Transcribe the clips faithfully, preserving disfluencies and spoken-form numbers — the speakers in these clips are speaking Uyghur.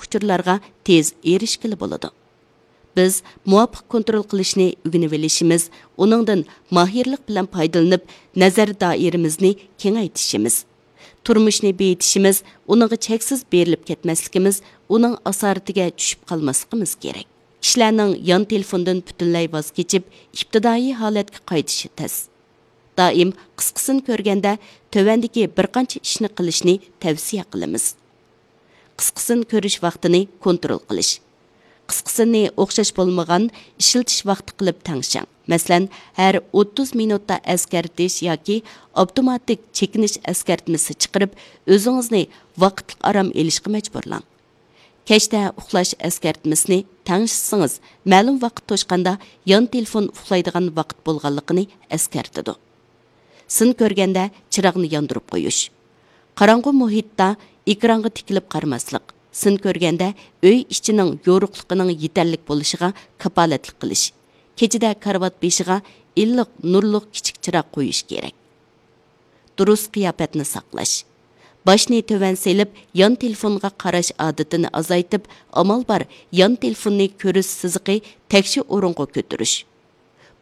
ئۇچۇرلارغا تېز ئېرىشكىلى بولىدۇ. بىز مۇۋاپىق كونترول قىلىشنى ئۆگىنىۋېلىشىمىز، ئۇنىڭدىن ماھىرلىق بىلەن پايدىلىنىپ، نەزەر دائىرىمىزنى كېڭەيتىشىمىز، تۇرمۇشنى بېيىتىشىمىز، ئۇنىڭغا چەكسىز بېرىلىپ كەتمەسلىكىمىز، ئۇنىڭ ئاسارىتىگە چۈشۈپ قالماسلىقىمىز كېرەك. كىشىلەرنىڭ يان تېلېفوندىن پۈتۈنلەي ۋاز كېچىپ، ئىپتىدائىي ھالەتكە قايتىشى تەس. دائىم قىسقىسىنى كۆرگەندە، تۆۋەندىكى بىر قانچە ئىشنى قىلىشنى تەۋسىيە قىلىمىز. قىسقىسىنى كۆرۈش ۋاقتىنى كونترول قىلىش. قىسقىسىنى ئوخشاش بولمىغان ئىشلىتىش ۋاقتى قىلىپ تەڭشەڭ. مەسىلەن، ھەر ئوتتۇز مىنۇتتا ئەسكەرتىش ياكى ئاپتوماتىك چېكىنىش ئەسكەرتمىسى چىقىرىپ، ئۆزىڭىزنى ۋاقىتلىق ئارام ئېلىشقا مەجبۇرلاڭ. كەچتە ئۇخلاش ئەسكەرتمىسىنى تەڭشىسىڭىز، مەلۇم ۋاقىت توشقاندا يان تېلېفون ئۇخلايدىغان ۋاقىت بولغانلىقىنى ئەسكەرتىدۇ. سىن كۆرگەندە چىراغنى ياندۇرۇپ قويۇش. قاراڭغۇ مۇھىتتا ئېكرانغا تىكىلىپ قارىماسلىق. سىن كۆرگەندە ئۆي ئىچىنىڭ يورۇقلۇقىنىڭ يېتەرلىك بولۇشىغا كاپالەتلىك قىلىش. كېچىدە كارىۋات بېشىغا ئىللىق نۇرلۇق كىچىك چىراغ قويۇش كېرەك. دۇرۇس قىياپەتنى ساقلاش. باشنى تۆۋەن سېلىپ، يان تېلېفونغا قاراش ئادىتىنى ئازايتىپ، ئامال بار يان تېلېفوننى كۆرۈش سىزىقى تەكشى ئورۇنغا كۆتۈرۈش.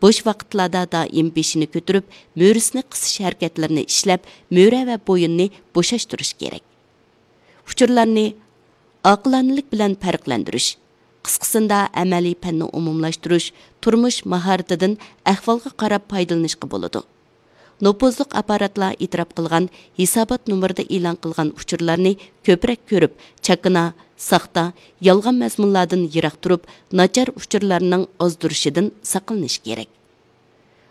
بوش ۋاقىتلاردا دائىم بېشىنى كۆتۈرۈپ، مۈرىسىنى قىسىش ھەرىكەتلىرىنى ئىشلەپ، مۈرە ۋە بويۇننى بوشاشتۇرۇش كېرەك. ئۇچۇرلارنى ئاقىلانىلىك بىلەن پەرقلەندۈرۈش. قىسقىسىندا ئەمەلىي پەننى ئومۇملاشتۇرۇش، تۇرمۇش ماھارىتىدىن ئەھۋالغا قاراپ پايدىلىنىشقا بولىدۇ. نوپۇزلۇق ئاپپاراتلار ئېتىراپ قىلغان ھېسابات نومۇرىدا ئېلان قىلغان ئۇچۇرلارنى كۆپرەك كۆرۈپ، چاكىنا، ساختا، يالغان مەزمۇنلاردىن يىراق تۇرۇپ، ناچار ئۇچۇرلارنىڭ ئازدۇرۇشىدىن ساقلىنىش كېرەك.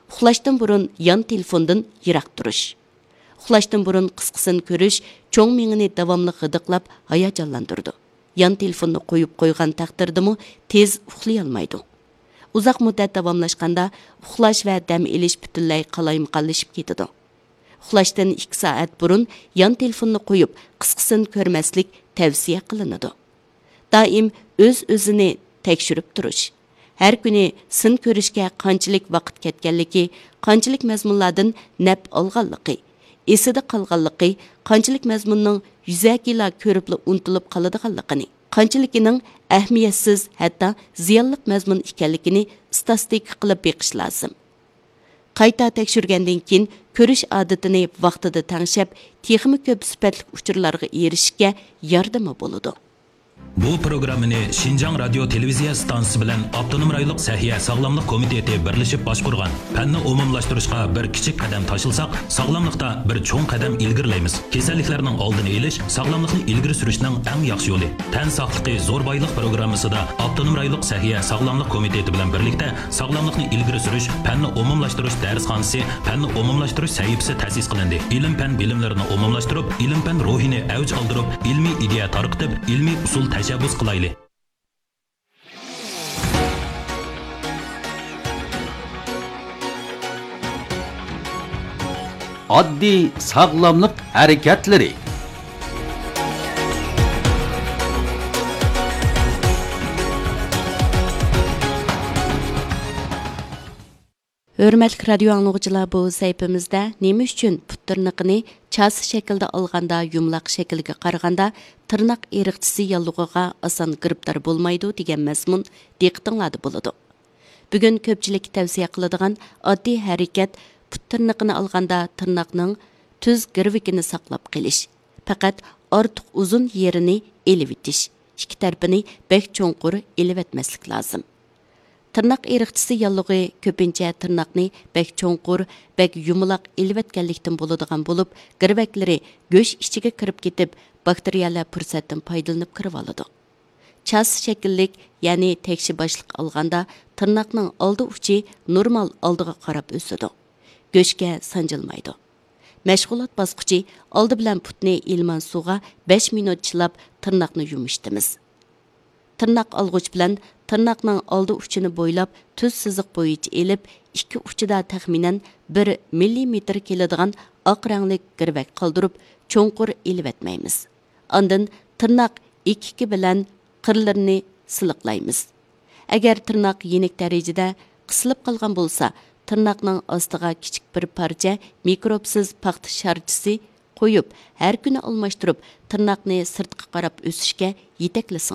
ئۇخلاشتىن بۇرۇن يان تېلېفوندىن يىراق تۇرۇش. ئۇخلاشتىن بۇرۇن قىسقىسىنى كۆرۈش چوڭ مېڭىنى داۋاملىق غىدىقلاپ ھاياجانلاندۇرىدۇ. يان تېلېفوننى قويۇپ قويغان تەقدىردىمۇ تېز ئۇخلىيالمايدۇ. ئۇزاق مۇددەت داۋاملاشقاندا ئۇخلاش ۋە دەم ئېلىش پۈتۈنلەي قالايمىقانلىشىپ كېتىدۇ. ئۇخلاشتىن ئىككى سائەت بۇرۇن يان تېلېفوننى قويۇپ، قىسقىسىنى كۆرمەسلىك تەۋسىيە قىلىنىدۇ. دائىم ئۆز-ئۆزىنى تەكشۈرۈپ تۇرۇش. ھەر كۈنى سىن كۆرۈشكە قانچىلىك ۋاقىت كەتكەنلىكى، قانچىلىك مەزمۇنلاردىن نەپ ئالغانلىقى، ئېسىدە قالغانلىقى، قانچىلىك مەزمۇننىڭ يۈزەكىلا كۆرۈپلا ئۇنتۇلۇپ قالىدىغانلىقىنى، قانچىلىكىنىڭ ئەھمىيەتسىز، ھەتتا زىيانلىق مەزمۇن ئىكەنلىكىنى ئىستاتىستىكا قىلىپ بېقىش لازىم. قايتا تەكشۈرگەندىن كېيىن، كۆرۈش ئادىتىنى ۋاقتىدا تەڭشەپ، تېخىمۇ كۆپ سۈپەتلىك ئۇچۇرلارغا ئېرىشىشكە ياردىمى بولىدۇ. بۇ پروگراممىنى شىنجاڭ رادىيو تېلېۋىزىيە ئىستانسىسى بىلەن ئاپتونوم رايونلۇق سەھىيە ساغلاملىق كومىتېتى بىرلىشىپ باشقۇرغان. پەننى ئومۇملاشتۇرۇشقا بىر كىچىك قەدەم تاشلىساق، ساغلاملىقتا بىر چوڭ قەدەم ئىلگىرىلەيمىز. كېسەللىكلەرنىڭ ئالدىنى ئېلىش، ساغلاملىقنى ئىلگىرى سۈرۈشنىڭ ئەڭ ياخشى يولى. تەن ساقلىقى زور بايلىق پروگراممىسىدا ئاپتونوم رايونلۇق سەھىيە ساغلاملىق كومىتېتى بىلەن بىرلىكتە ساغلاملىقنى ئىلگىرى سۈرۈش، پەننى ئومۇملاشتۇرۇش دەرسخانىسى، پەننى ئومۇملاشتۇرۇش سەھىپىسى تەسىس قىلىندى. ئىلىم-پەن بىلىملىرىنى ئومۇملاشتۇرۇپ، ئىلىم-پەن روھىنى ئەۋج ئالدۇرۇپ، ئىلمىي ئىدىيە تارقىتىپ، ئىلمىي ئۇسۇل تەشەببۇس قىلايلى. ئاددىي ساغلاملىق ھەرىكەتلىرى. ھۆرمەتلىك رادىيو ئاڭلىغۇچىلار، بۇ سەھىپىمىزدە نېمە ئۈچۈن پۇت تىرنىقىنى چاسا شەكلىدە ئالغاندا يۇمىلاق شەكىلگە قارىغاندا تىرناق ئېرىقچىسى ياللۇغىغا ئاسان گىرىپتار بولمايدۇ دېگەن مەزمۇن دىققىتىڭلاردا بولىدۇ. بۈگۈن كۆپچىلىككە تەۋسىيە قىلىدىغان ئاددىي ھەرىكەت پۇت تىرنىقىنى ئالغاندا تىرناقنىڭ تۈز گىرۋىكىنى ساقلاپ قېلىش، پەقەت ئارتۇق ئۇزۇن يېرىنى ئېلىۋېتىش، ئىككى تەرىپىنى بەك چوڭقۇر ئېلىۋەتمەسلىك لازىم. تىرناق ئېرىقچىسى ياللۇغى كۆپىنچە تىرناقنى بەك چوڭقۇر، بەك يۇمىلاق ئېلىۋەتكەنلىكتىن بولىدىغان بولۇپ، گىرۋەكلىرى گۆش ئىچىگە كىرىپ كېتىپ، باكتېرىيەلەر پۇرسەتتىن پايدىلىنىپ كىرىۋالىدۇ. چاسا شەكىللىك، يەنى تەكشى باشلىق ئالغاندا، تىرناقنىڭ ئالدى ئۇچى نورمال ئالدىغا قاراپ ئۆسىدۇ. گۆشكە سانجىلمايدۇ. مەشغۇلات باسقۇچى، ئالدى بىلەن پۇتنى ئىلمان سۇغا بەش مىنۇت چىلاپ، تىرناقنى يۇمشىتىمىز. تىرناق ئالغۇچ بىلەن تىرناقنىڭ ئالدى ئۇچىنى بويلاپ، تۈز سىزىق بويىچە ئېلىپ، ئىككى ئۇچىدا تەخمىنەن بىر مىللىمېتىر كېلىدىغان ئاق رەڭلىك گىرۋەك قالدۇرۇپ، چوڭقۇر ئېلىۋەتمەيمىز. ئاندىن تىرناق ئېكىكى بىلەن قىرلىرىنى سىلىقلايمىز. ئەگەر تىرناق يېنىك دەرىجىدە قىسىلىپ قالغان بولسا، تىرناقنىڭ ئاستىغا كىچىك بىر پارچە مىكروبسىز پاختا شارچىسى قويۇپ، ھەر كۈنى ئالماشتۇرۇپ، تىرناقنى سىرتقا قاراپ ئۆسۈشكە يېتەكلىسىڭىز.